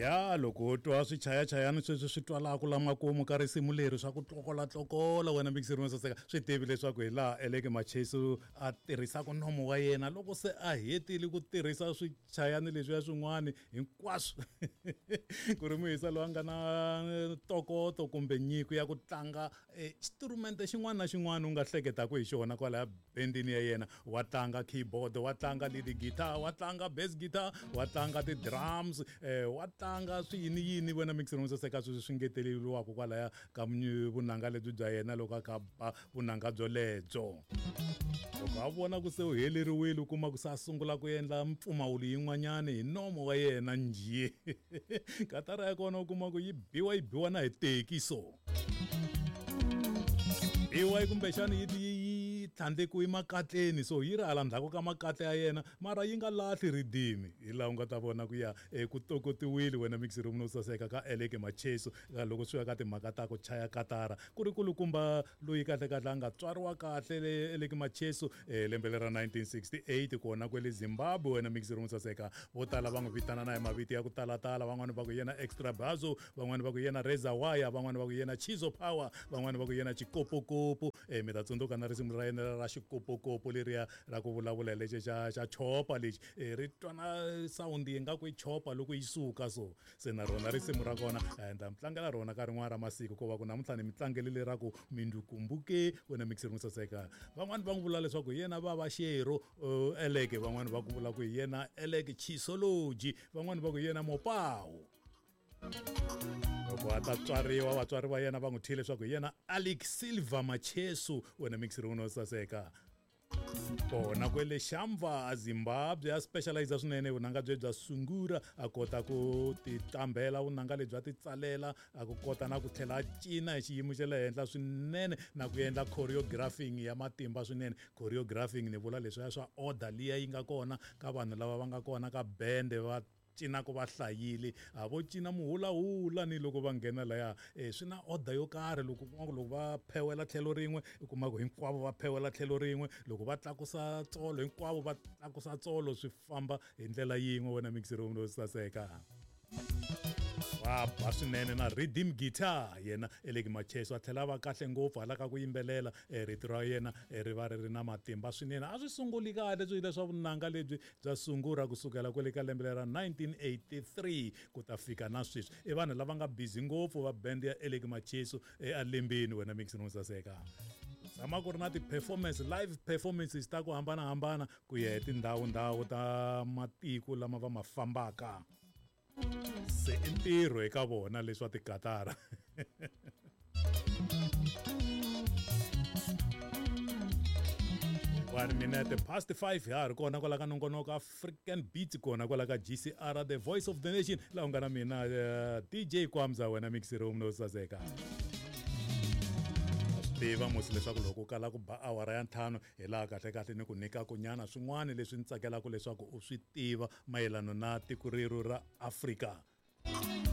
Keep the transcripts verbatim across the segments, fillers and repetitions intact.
Ya loko u twa swichayachayani sweswi swi twalaka la makumu ka risimu leri swa ku tlokolatlokola wena mixeri wo saseka swi tivi leswaku hi laha Alec Macheso a tirhisaka nomo wa yena loko se a hetile ku tirhisa swichayani leswiya swin'wana hinkwaswo ku ri muhisa loyi a nga na ntokoto kumbe nyiko ya ku tlanga instrument xin'wana na xin'wana u nga hleketaka hi xona kwalaya bendini ya yena. Wa tlanga keyboard, wa tlanga lead guitar, wa tlanga bass guitar, wa tlanga ti-drums, eh, wa tlanga swi yini yini wena mixer wo saseka sweswi swi ngeteleriwaka kwalaya ka vunanga lebyi bya yena loko a kha ba vunanga byolebyo. Loko a vona ku se u heleriwile u kuma ku se a sungula ku endla mpfumawulo yin'wanyana hi nomo wa yena njhe. Katara ya kona u kuma ku yi biwa yi biwa na hi teki so. Biwa kumbexana yi yi tlhandlekiwe makatleni so yi ri hala ndzhaku ka makatla ya yena mara yi nga lahli ridimi hi laha u nga ta vona ku ya ku tokotiwile wena mixer room no saseka ka Alec Macheso loko swi ya ka timhaka ta ku chaya katara ku ri kulukumba loyi kahle kahle a nga tswariwa kahle le Alec Macheso lembe lera nineteen sixty-eight kona kwele Zimbabwe wena mixer room saseka. Vo tala va n'wi vitana na hi mavito ya ku talatala, van'wani va ku yena Extra Bazo, van'wani va ku yena Reza Wire, van'wani va ku yena Chizo Power, van'wani va ku yena Chikopokopo. Eh mi ta tsundzuka na risimu ra yena ra xikopokopo leriya ra ku vulavula lexi xa xa chopa lexi ri twana sound yi nga ku yi chopa loko yi suka so se na rona risimu ra kona ni ta mi tlangela rona ka rin'wana ra masiku ko va ku namuntlha ni mi tlangele leraku mindukumbuke wena mixer saseka. Van'wani va n'wi vula leswaku hi yena Baba Shero Alec, van'wani va ku vula ku hi yena Alec Chisology, van'wani va ku hi yena Mopao. Loko a ta tswariwa vatswari va yena va n'wi thyile leswaku hi yena Alec Silver Macheso wena mixer wo saseka. Kona kwele Shamva a Zimbabwe a specialize swinene vunanga bye bya sungura a kota ku titlambela vunanga lebyi a ti tsalela a ku kota na ku tlhela a cina hi xiyimo xa le henhla swinene na ku endla choreographing ya matimba swinene. Choreographing ni vula leswiya swa order liya yi nga kona ka vanhu lava va nga kona ka bende va cina ku va hlayile a vo cina muhulahula ni loko va nghena laya eh, swi na order yo karhi loko kuma loko va phewela tlhelo rin'we u kuma ku hinkwavo va phewela tlhelo rin'we loko va tlakusa tsolo hinkwavo va tlakusa tsolo swi famba hi ndlela yin'we wena mixer room lowu saseka. Wa ba swinene na rhythm guitar yena Alec Macheso a tlhela va kahle ngopfu hala ka ku yimbelela rito ra yena ri va ri ri na matimba swinene. A swi sunguli kahle swilo leswa vunanga lebyi bya sungura kusukela kwale ka lembe ra nineteen eighty-three ku ta fika na sweswi. I vanhu lava nga busy ngopfu va band ya Alec Macheso elembeni wena mixer room saseka. Tshama ku ri na ti-performance live performances ta ku hambanahambana ku ya hi tindhawu ndhawu ta matiko lama va ma fambaka. Se i ntirho eka vona leswa tikatara. One minute past five ya ri kona kwala ka nongonoko African Beats kona kwala ka G C R the voice of the nation la u nga na mina uh, D J Kwamza wena mixer room no saseka. Tiva musi leswaku loko u kala ku ba awara ya ntlhanu hi laha kahle kahle ni ku nyika kunyana swin'wana leswi ni tsakelaka leswaku u swi tiva mayelana na tiko rero ra Afrika.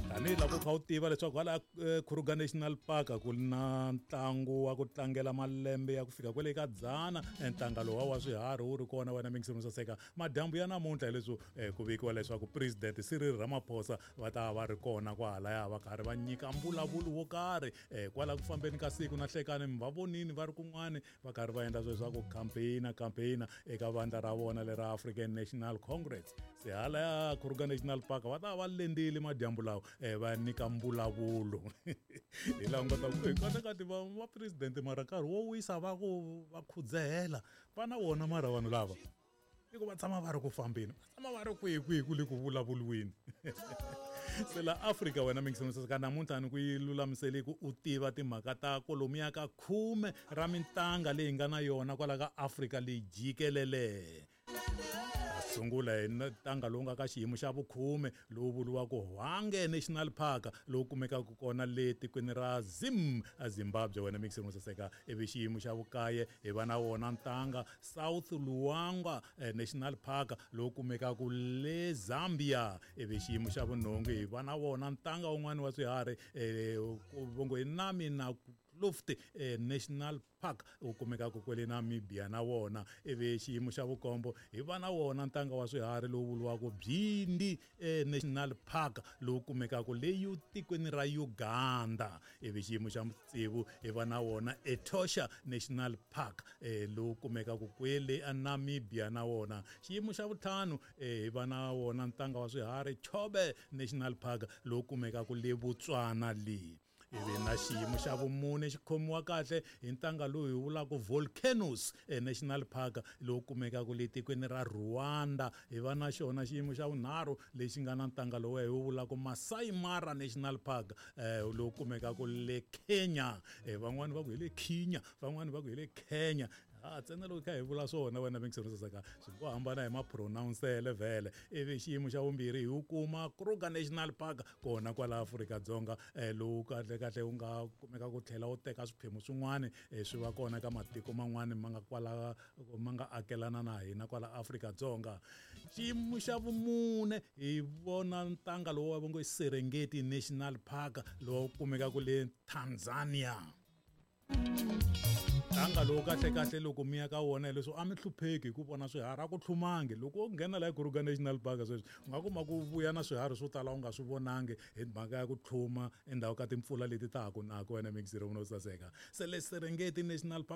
Tanihi loko u kha u tiva leswaku hala Kruger National Park ku na ntlangu wa ku tlangela malembe ya ku fika kwale ka dzana ntanga lowa wa swiharhi wu ri kona wena mixer room saseka. Madyambu ya namuntlha hileswi ku vikiwa leswaku President Cyril Ramaphosa va ta va ri kona kwahalaya va karhi va nyika mbulavulo wo karhi kwala ku fambeni ka siku na hlekani mi va vonini va ri kun'wani va karhi va endla sweswo ku campaign campaign eka vandla ra vona lera African National Congress. Se halaya Kruger National Park va ta va lendile madyambu lawa va nyika mbulavulo. Hi laha u nga ta ku kahle kahle va va president mara nkarhi wo wisa va ku va khudzehela va na wona mara vanhu lava i ku va tshama va ri ku fambeni va tshama va ri kwihi kwihi ku le ku vulavuriweni. Se la Afrika wena mixer saseka namuntlha ni ku yi lulamisele ku u tiva timhaka ta kwalomuya ka khume ra mintanga leyi nga na yona kwala ka Afrika leyi jikelele. Sungula hi ntanga lowu nga ka xiyimo xa vukhume lowu vuriwaka Hwange National Park lowu kumekaka kona le tikweni ra Zim a Zimbabwe wena mixer saseka. Ivi xiyimo xa vukaye hi va na wona ntanga South Luangwa National Park lowu kumekaka le Zambia. Ivi xiyimo xa vunhungu hi va na wona ntanga wun'wani wa swiharhi vongo hi Nami na Naukluft eh, National Park wu kumekaka kwele Namibia na wona. Ivi xiyimo xa vukombo hi va na wona ntanga wa swiharhi lowu vuriwaka Bwindi eh, National Park lowu kumekaka le tikweni ra Uganda. Ivi xiyimo xa tsevu hi va na wona Etosha National Park eh, lowu kumekaka kwele Namibia na wona. Xiyimo xa vutlhanu eh, hi va na wona ntanga wa swiharhi Chobe National Park lowu kumekaka le Botswana le. Ivi na xiyimo xa vumune xi khomiwa kahle hi ntanga lowu hi vulaka Volcanoes National Park lowu kumekaka le tikweni ra Rwanda. Hi va na xona xiyimo xa vunharhu lexi nga na ntanga lowu hi wu vulaka Masai Mara National Park eh, lowu kumekaka le Kenya. Eh, van'wani va ku hi le Kenya, van'wani va ku hi le Kenya. A ntsena loko kha hi vula swona wena mingisero swi ngo hambana hi mapronouncele vhele. Ivi xiyimo xa vumbirhi hi wu kuma Kruger National Park kona kwala Afrika-Dzonga eh, lowu kahle kahle wu nga kumeka ku tlhela wu teka swiphemu swin'wana eh, swi va kona ka matiko man'wani ma nga kwala ma nga akelana na hina kwala Afrika-Dzonga. Xiyimo xa vumune hi vona ntanga lowu va ngo Serengeti National Park lowu kumekaka le Tanzania. Ntanga lowu kahle kahle loko mi ya ka wona hileswo a mi hlupheki hi ku vona swiharhi a ku tlhumangi. Loko u nghena laha Kruger National Park sweswi u nga kuma ku vuya na swiharhi swo tala u nga swi vonangi hi mhaka ya ku tlhuma endzhaku ka timpfula leti ta ha ku naka wena mixiro no saseka. Se le Serengeti National Park